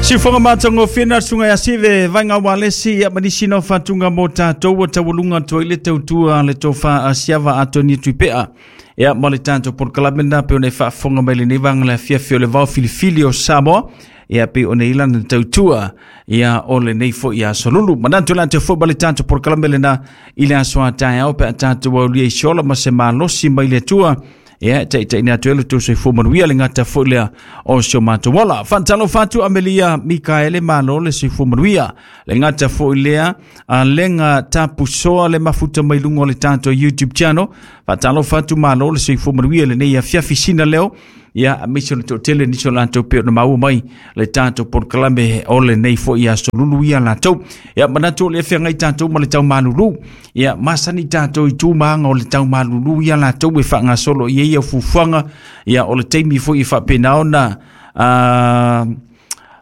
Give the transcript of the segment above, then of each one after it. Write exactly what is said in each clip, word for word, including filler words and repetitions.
Siufoga matagofie na suga ia sive vaiga ualesi ia ma nisi na o fatuga mo tatou ua taualuga atu ai le tautua le tofa a siava atoni tuipea ia ma le tatou polokalame lena pe ona e faafofoga mai lenei vaga le afiafi o le vao filifili o Samoa ia pe ona i lana tautua ia o lenei foi aso lulu. Manatu latou foi ma le tatou polokalame lena i le aso a taeao pe a tatou aulia i se ola ma se malosi mai le Atua ia taitaina atu ai lo outou soifua manuia le gata foi lea o si o matou ola. Faatalofa atu Amelia Mikaele, malo le soifua manuia. Le gata foi lea a lega tapusoa le mafuta mai luga o le tatou YouTube channel. Faatalofa atu, malo le soifua manuia lenei afiafi sina leo. Ia aemaise o le toatele nisi o latou pei ona maua mai le tatou polokalame o lenei foi aso lulu ia latou. Ia manatu o le feagai tatou ma le taumalulu. Ia masani tatou i tu ma aga o le taumalulu ia latou e faagasolo i ai ia fuafuaga. Ia o le taimi foi e faapena ona uh,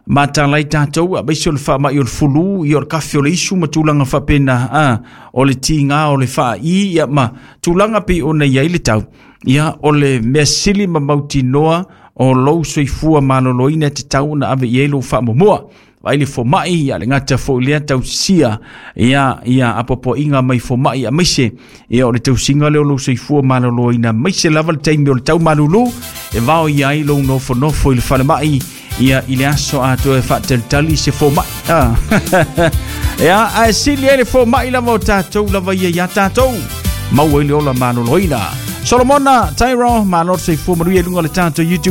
matalai tatou aemaise o le faamai o le fulu, ia o le kafe o le isu ma tulaga faapena, a o le tiga o le faai ia ma tulaga pei ona i ai le tau. Ia o le mea sili ma mautinoa o lou soifua maloloina e tatau ona ave i ai lou faamuamua. Vaai le fomai, ia le gata foi lea tausisia ia ia apoapoaiga mai fomai aemaise ia o le tausiga lea o lou soifua maloloina aemaise lava le taimi o le taumalulu e vao i ai lou nofonofo i le falemai ia i le aso atoa e faatalitali se fomai. Ah. Ia ae sili ai le fomai lava o tatou lava ia ia tatou maua i le ola maloloina. Solomona Tyro, malo le soifua manuia i luga o le tatou YouTube.